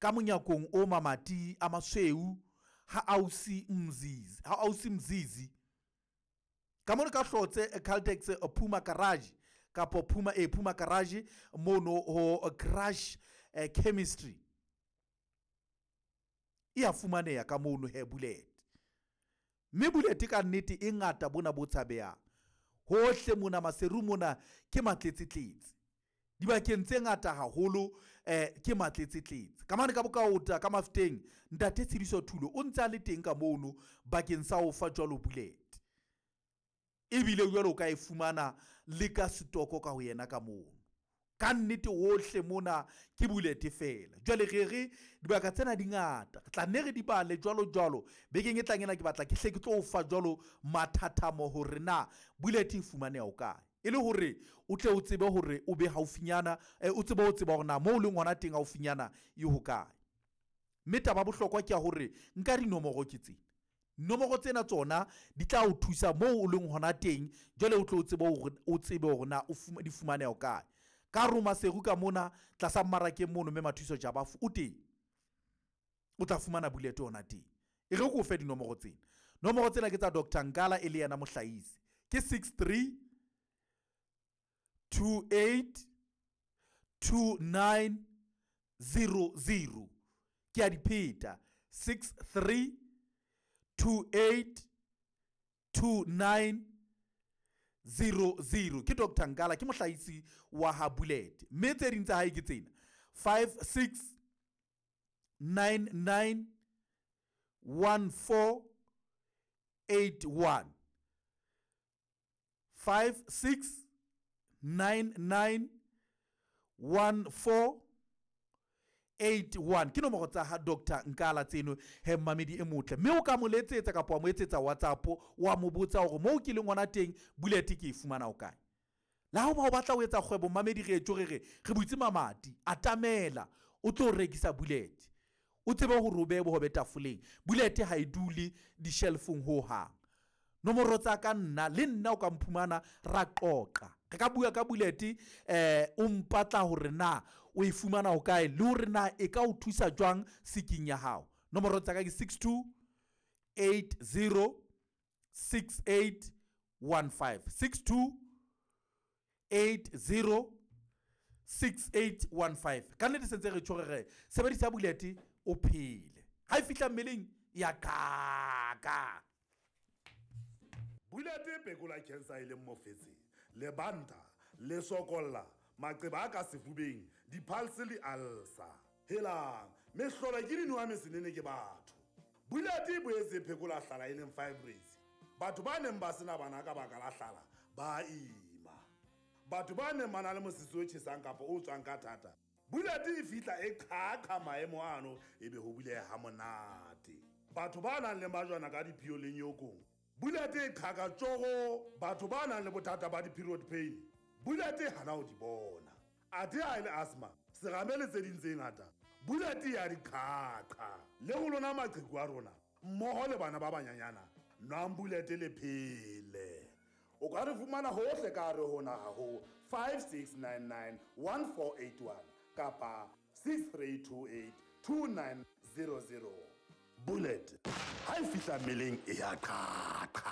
Ka monyakong o mamati a masweu ha ausi Mzizi, ha ausi Mzizi. Ka mono ka Hlotse Caltex Puma Garage kapo Puma e Puma Garage mono ho Crush Chemistry. E a fumaneha ka mono he bullet. Mme bullet ka nnete e ngata bona bo tshabehang. Hohle mona Maseru mona ke matletsetletse. Dibakeng tse ngata haholo ke matletsetletse. Ka mane ka Bokaota ka Mafeteng ntate Tshidiso Thulo o ntse a le teng ka mono bakeng sa ho fa jwalo bullet. Ebile jwalo o ka e fumana le ka setoko ka ho yena ka mono. Ka nnete hohle mona ke bullet fela. Jwale re re dibaka tsena di ngata, re tla nne re di bale jwalo jwalo. Bekeng e tlang ena ke batla ke hle ke tlo o fa jwalo mathathamo hore na bullet e fumaneha ho kae. E le hore o tle o tsebe hore o be haufinyana, o tsebe ho tseba hore na moo o leng hona teng haufinyana e hokae. Mme taba bohlokwa ke ya hore nka dinomoro ke tsena. Nomoro tsena tsona di tla o thusa moo o leng hona teng, jwale o tlo o tsebe hore o tsebe hore na o di fumaneha ho kae. Ka roma Seru ka mona tlasa mmarakeng mono mme Mathuso Jabafu o teng. O tla fumana bullet hona teng. E re ke o fe dinomoro tsena. Nomoro tsena ke tsa Dr. Nkala e le yena mohlahisi. Ke 63 28 29 00. Ke a di pheta. 63 28 29 00. Ke Dr. Nkala, ke mohlahisi wa ha bullet. Mme tse ding tsa hae ke tsena. 5 6 9 9 1 4 8 1. 5 6 9 9 1 4 8 1. Ke nomoro tsa ha Dr. Nkala tseno he mmamedi e motle. Mme o ka mo letsetsa kapa wa mo etsetsa WhatsApp wa mo botsa hore moo ke leng hona teng bullet ke e fumana ho kae. Le ha o ba o batla ho etsa kgwebo mmamedi re etjo re re re butse mamati, atamela o tlo rekisa bullet. O tsebe hore o behe bohobe tafoleng. Bullet ha e dule di-shelfong ho hang. Nomoro tsa ka nna le nna o ka mphumana ra qoqa. Re ka bua ka bullet o mpatla hore na o e fumana ho kae le hore na e ka o thusa jwang seking ya hao. Nomoro tsa ka ke 62 80 68 15. 62 80 68 15. Ka nnete sentse re tjho re re sebedisa bullet o phele. Ha e fihla mmeleng ya kaka. Bullet e phekola cancer e leng mofetshe, lebanta, le sokolla, maqeba a ka sefubeng, di-pulse le ulcer. Helang, mehlolo ke dinowa mesenene ke batho. Bullet e boetse e phekola hlala e leng fibroids. Batho ba neng ba sena bana ka baka la hlala ba ima. Batho ba neng ba na le mosese o tjhesang kapa o tswang ka thata, bullet e fihla e qhaqha maemo ano ebe ho buleha ha monate. Batho ba nang le majwana ka diphio le nyokong, bullet e qhaka tjoro. Batho ba nang le bothata ba di-period pain, bullet e hana ho di bona. Athe ha e le asthma, serame le tse ding tse ngata, bullet ya di qhaqha. Le ho lona maqheku a rona mmoho le bana ba banyanyana, nwang bullet le phele. O ka re fumana hohle ka hare ho naha ho 5699 1481 kapa 6328 2900. Bullet ha e fihla mmeleng e ya qhaqha.